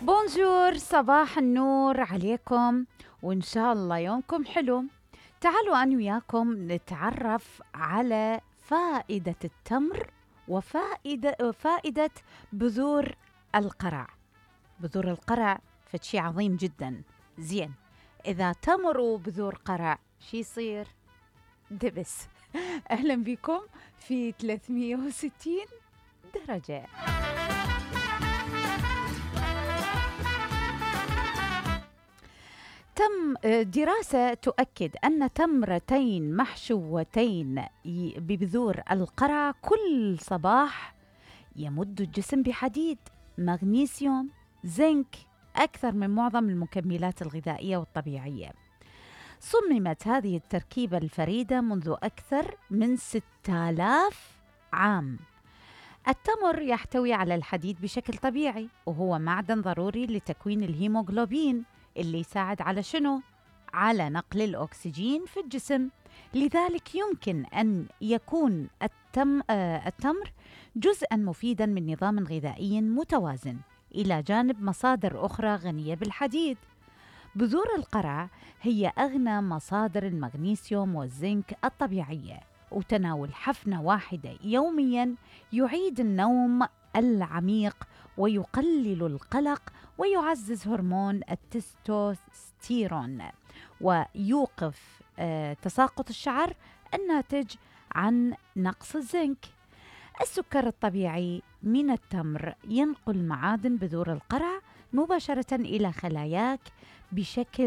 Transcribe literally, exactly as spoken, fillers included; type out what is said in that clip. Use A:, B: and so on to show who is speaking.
A: بونجور، صباح النور عليكم، وإن شاء الله يومكم حلو. تعالوا أنا وياكم نتعرف على فائدة التمر وفائدة فائدة بذور القرع. بذور القرع فشي عظيم جدا. زين، إذا تمر وبذور قرع شي يصير؟ دبس. أهلا بكم في ثلاثمية وستين درجة. تم دراسة تؤكد أن تمرتين محشوتين ببذور القرع كل صباح يمد الجسم بحديد، مغنيسيوم، زنك أكثر من معظم المكملات الغذائية والطبيعية. صممت هذه التركيبة الفريدة منذ أكثر من ستة آلاف عام. التمر يحتوي على الحديد بشكل طبيعي، وهو معدن ضروري لتكوين الهيموغلوبين اللي يساعد على شنو؟ على نقل الأكسجين في الجسم. لذلك يمكن أن يكون التم آه التمر جزءاً مفيداً من نظام غذائي متوازن، إلى جانب مصادر أخرى غنية بالحديد. بذور القرع هي أغنى مصادر المغنيسيوم والزنك الطبيعية، وتناول حفنة واحدة يومياً يعيد النوم العميق ويقلل القلق ويعزز هرمون التستوستيرون، ويوقف آه تساقط الشعر الناتج عن نقص الزنك. السكر الطبيعي من التمر ينقل معادن بذور القرع مباشرة إلى خلاياك بشكل